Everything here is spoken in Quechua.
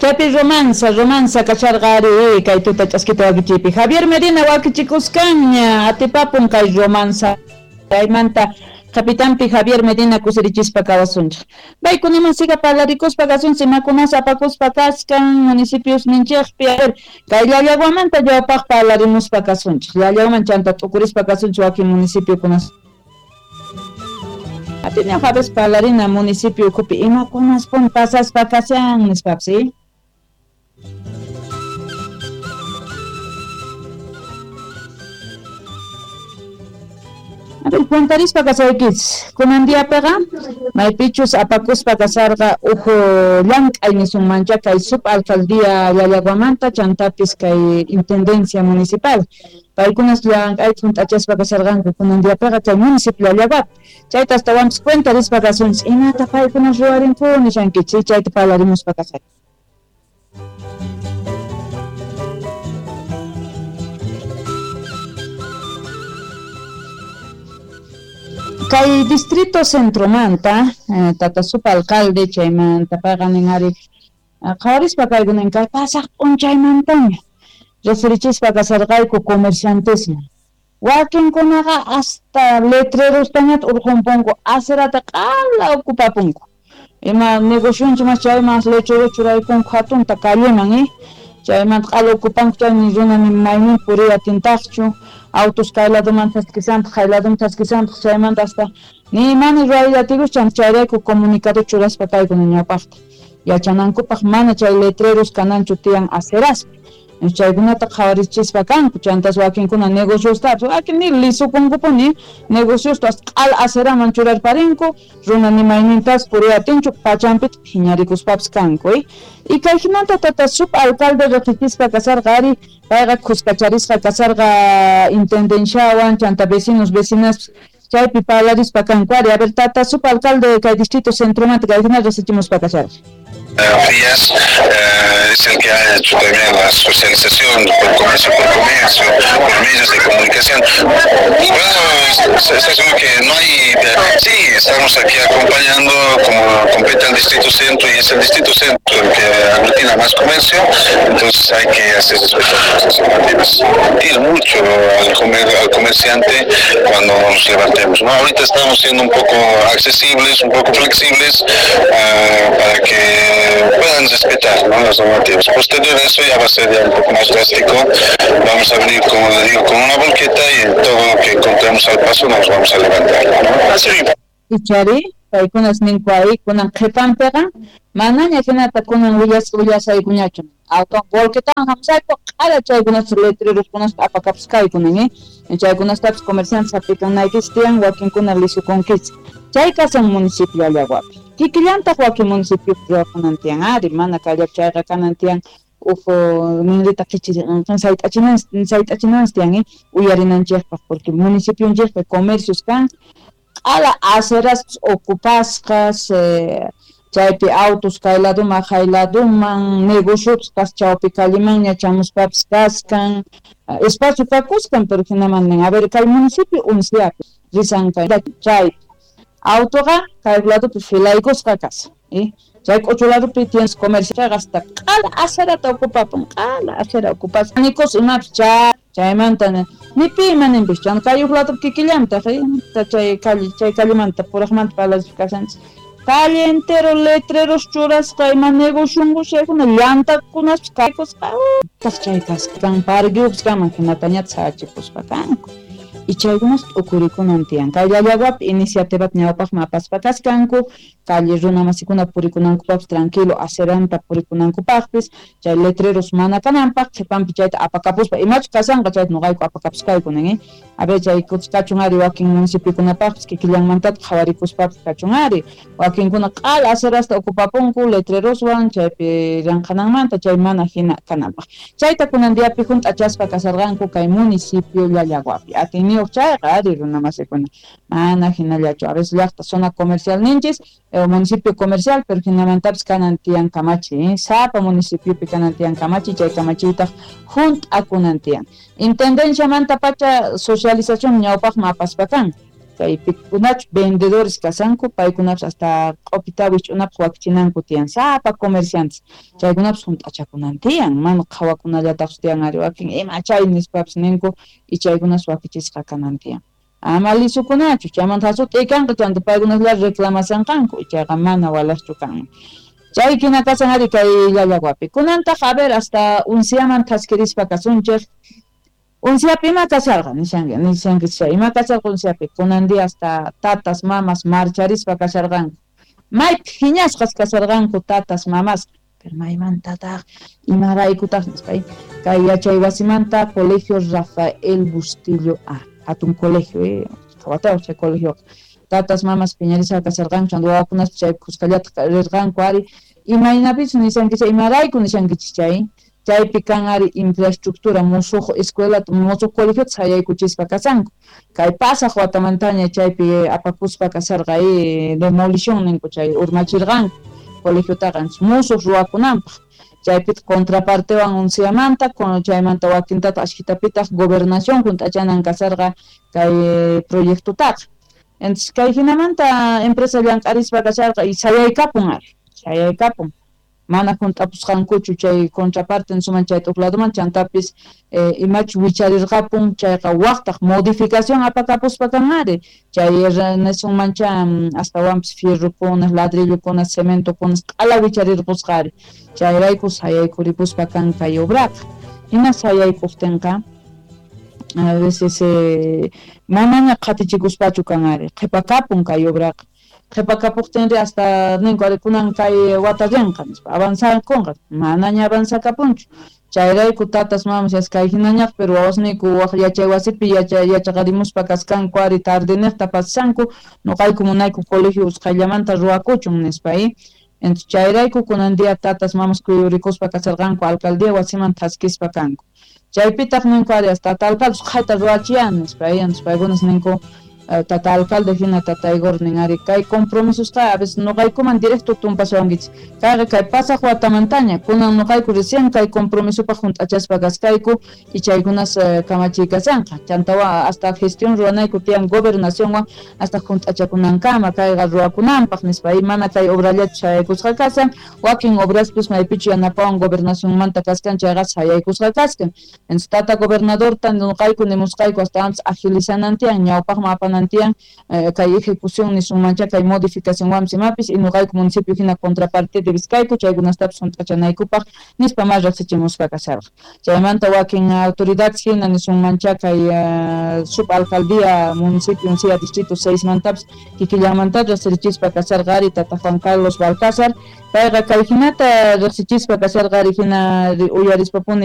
Chaypi romanza kasharqa ari kay tuta ch'askita wakichiypi. Javier Medina wakichikuskanña atipapun kay romanza. Chaymanta Capitanpi Javier Medina kusirichispa kawasunchik. Paykunaman siga parlarikuspa kasunchik imakunas apakuspa kaskan municipios ninchikpi. A ver, kay Llallaguamanta ñawpaq parlarimuspa kasunchik. Llallaguaman chanta t'ukurispa kasunchik wakin municipiokunas. Atini Javes parlarina municipio ukhupi imakunas pun pasaspa kashan nispapis, ¿sí? A ver, cuentarispa kasaykichis. Kunan diapiqa maypichus apakuspa kasarqa uhu llank'ay nisunmancha kay subalcaldía Llallaguamanta chantapis kay intendencia municipal. Paykunas llank'ayta hunt'achaspa kasarqanku kunan diapiqa chay municipio Llallaguapi. Chayta astawanpis cuentarispa kasunchis imata paykunas ruwarinku nishankichis, chayta parlarimuspa kasay. Kay distrito centromanta tata subalcalde chaymanta payqa nin ari qhawarispa kaykunan kay pasaq p'unchaymantaña referichispa kasarqayku comerciantesman. Wakinkunaqa hasta letrerostañata urqunpunku acerata q'ala ocupapunku. Ima negocionchik mas chayman letrero churaykunku hatunta calleman, chaymanta q'ala ocupanku chaymi runa ni maynin puriy atintaqchu. Autos kay ladoman thaskisantaq, kay ladoman thaskisantaq, chaymanta hasta ni mana ruwaylla atikus chayrayku comunicado churaspa kaykuna ñawpaqta. Yachanankupaq mana chay letreros kananchu tiyan aceraspi. Chaykunata qhawarichispa kanku, chantas wakinkuna negociostapas, wakin ni lisukunkupuni negociosta hasta q'ala aceraman churarparinku, runa ni maynintas puriy atinchu, pachanpita phiñarikuspapas kanku, Y kay hinanta tata subalcalde riqsichispa kasarqa ari, payqa khuskacharisqa kasarqa intendenciawan, chanta vecinos, vecinas, chaypi parlarispa kanku ari. A ver, tata subalcalde kay distrito centromanta kay hina riqsichimuspa kasarqa. Frías es el que ha hecho también la socialización por comercio, por medios de comunicación. Bueno, es como que no hay, sí, estamos aquí acompañando como compete al Distrito Centro y es el Distrito Centro el que aglutina más comercio, entonces hay que hacer respetar las normativas. Sentir mucho al comerciante cuando nos levantemos, ¿no? Ahorita estamos siendo un poco accesibles, un poco flexibles, para que puedan respetar, ¿no?, las normativas. Posterior a eso ya va a ser ya un poco más drástico. Vamos a venir, como le digo, con una volqueta y todo lo que encontremos al paso nos vamos a levantar, ¿no? Ichari, paykunas ninku ahí, kunan qhipanpiqa, manaña hinata kunan willasaykuñachu. Auto volquetawan hamusayku, q'ala chaykunas letreros apakapusqaykunan, Chaykunastapis comerciantes hap'ikanaykichis tiyan, wakinkuna lisukunkichis. Chay kasan municipio Llallaguapi. Kikillantaq wakin municipio ruwakunan tiyan ari, mana kayllapi chayqa kanan tiyan uhu ninrita sayt'achinanchis tiyan, uyarinanchikpaq, porque municipionchikpi comercios kan, q'ala aceraspis ocupasqas, chaypi autos kay laduman, jay laduman, negocios kas chawpi callemanña chamuspapis kaskan, espacio kakuskan, pero hinaman nin, a ver, kay municipio unciapi, risan kay chay autoqa kay ladupi filaykusqa kasan, Chay k'uchu ladupi tienes comercio hasta q'ala acerata ocupapun, q'ala acera ocupas. Nikos imapis chaymanta ni pi ima ninpis, chay kay uq ladupi kikillantaq, chay calle, chay callemanta puraqmanta parlarispa kasanchis. Calle entero letreros churasqa ima negocionku chaykuna llantakunaspis kaykusqa, taq chay kasqa parqueupis kaman hinatañata sachipuspa kanku. Y chaykunas t'ukurikunan tiyan. Kay Llallaguapi iniciativata ñawpaqman apaspa kaskanku, calle runa masikuna purikunankupaqpis tranquilo aceranta purikunankupaqpis, chay letreros mana kananpaq, qhipanpi chayta apakapuspa, imachus kasanqa chayta nuqayku apakapuskaykunan, A ver, chay kachun ari wakin municipiokunapaqpis kikillanmantataq qhawarikuspapis kachun ari. Wakinkuna q'ala acerasta ocupapunku letreroswan chaypi llanqananmanta chay mana hina kananpaq. Chayta kunan diapi hunt'achaspa kasarqanku kay municipio Llallaguapi. Atiyniyuq chayqa ari runa masikuna mana hinallachu. A veces llaqta zona comercial ninchis, municipio comercial, pero hinamantapis kanan tiyan kamachi, Sapa municipiopi kanan tiyan kamachi, chay kamachiytaq hunt'akunan tiyan. Intendenciamanta pacha socialización ñawpaqman apaspa kan. Kay pikunachu vendedores kashanku, paykunapas hasta q'upita wich'unapaq wakichinanku tiyan, sapa comerciantes chaykunapas hunt'achakunan tiyan, mana qhawakunallataqchu tiyan ari wakin ima chay nispapis ninku y chaykunas wakichisqa kanan tiyan. Ama lisukunachu, chaymanta hasut'ikanqa chanta paykunaslla reclamasanqanku, chayqa mana walaqchu kanman. Chay hina kashan ari kay Llallaguapi. Kunantaq a ver hasta unsiaman thaskirispa kasunchik. Unsiapi ima kasharqa nishanki nishanki chay ima kasharqa unsiapi kunan día hasta tatas mamas marcharispa kasharqanku. May phiñasqas kasharqanku tatas mamas, pero maymantataq imaraykutaq nispa kay yachay wasimanta Colegio Rafael Bustillo A, hatun colegio, qhawatawaq chay colegioqa. Tatas mamas phiñarisqa kasharqanku chanta wawakunas chay khuskallata rirqanku ari imaynapichus nishanki chay imarayku nishankichis chay chaypi kan ari infraestructura musuq escuela musuq colegiota sayaykuchispa kashanku kay pasaq watamantaña chaypi apakuspa kasharqa demolición ninku chay urmachirqanku colegiotaqa musuq ruwakunanpaq chaypitaq contrapartewan unsiamanta chaymanta wakintataq ashkitapitaq gobernación hunt'achanan kasharqa kay proyectotaqa. Entonces kay hinamanta empresa llank'arispa kasharqa y sayaykapun ari sayaykapun mana hunt'apusqankuchu chay contraparte nisuman chay t'uqladuman chantapis imachu wicharirqapun chayqa waqtaq modificación apakapuspa kan ari chay nisunmancha astawanpis fierrokuna ladrillokuna cementokuna q'ala wicharirqusqa ari chayrayku sayaykuripuspa kan kay obraqa hina sayaykuqtinqa a veces manaña qhatichikuspachu kan ari qhipakapun kay obraqa qhipakapuqtinri hasta ninku ari kunan kay wata rinqa nispa avanzakunqa manaña avanzakapunchu chayrayku tatas mamas kay hinañaq pero wawasniyku waq yachay wasipi yachaqarimuspa kaskanku ari tardeniqta pasashanku nuqayku munayku colegio usqhayllamanta ruwakuchun nispa entonces chayrayku kunan día tatas mamas kuyurikuspa kasharqanku alcaldía wasiman thaskispa kanku chaypitaq ninku ari hasta tata alcalde usqhayta ruwachiyan nispa entonces paykunas ninku tata alcalde hina tata Igor nin ari kay compromisusqa a veces nuqaykuman directo tumpasawankichis kayqa kay pasaq watamantaña kunan nuqayku recién kay compromisopaq hunt'achaspa kaskayku y chaykunas kamachiy kashanqa chantawa hasta gestión ruwanayku tiyan gobernacionwan hasta hunt'achakunankama kayqa ruwakunanpaq nispa y mana kay obrallachu sayaykusqa kashan wakin obraspis maypichu yanapawan gobernacionmanta kaskan chayqa sayaykusqa kaskan entonces tata gobernadorta nuqayku nimusqayku astawanpis agilizanan tiyan ñawpaqman apanan tiyan kay ejecución nisunmancha kay modificación imapis y nuqayku municipio hina contraparte debisqayku chaykunastapis hunt'achanaykupaq nispa mas riqsichimusqa kasharqa chaymanta wakin autoridades hina nisunmancha kay subalcaldía municipio Uncía distrito 6 mantapis kikillanmanta riqsirichispa kasharqa ari tata Juan Carlos Balcázar payqa kay hinata riqsichispa kasharqa ari hina uyarispapuni.